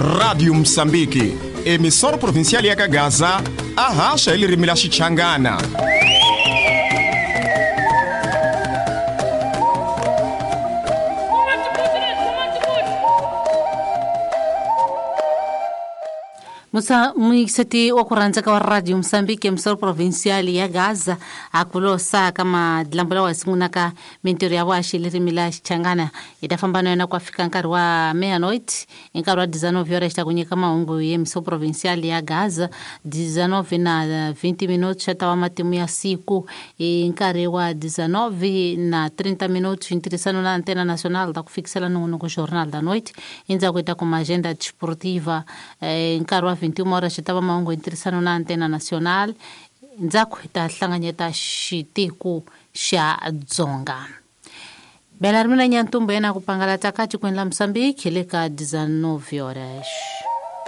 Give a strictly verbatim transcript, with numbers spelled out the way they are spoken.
Rádio Moçambique, emissora provincial ya Gaza, arracha ele rimila Xichangana. Musa muyingiseti wa ku rhandza ka wa Radio Moçambique, emissora provincial ya Gaza, akulosa kama dilambo lawa sungulaka mintirho ya vuhaxi ririmi la Xichangana. Hi ta famba na yona ku fika nkarhi wa meia-noite, hi nkarhi wa dezenove horas ta ku nyika mahungu ya emissora provincial ya Gaza, dezenove na vinte minutos xa ta wa matimu ya siku, hi nkarhi wa dezenove na trinta minutos ntirhisano na Antena Nacional ta ku fikisela nongonoko Jornal da Noite. Endzhaku hi ta kuma agenda desportiva, hi nkarhi wa vinte e uma horas xa ta va mahungu hi ntirhisano na Antena Nacional. Ndzhaku hi ta hlanganyeta xitiku xa Dzonga. Bela ri mina Nyantumbu yena ku pangalata ka tikweni la Moçambique le ka dezenove horas.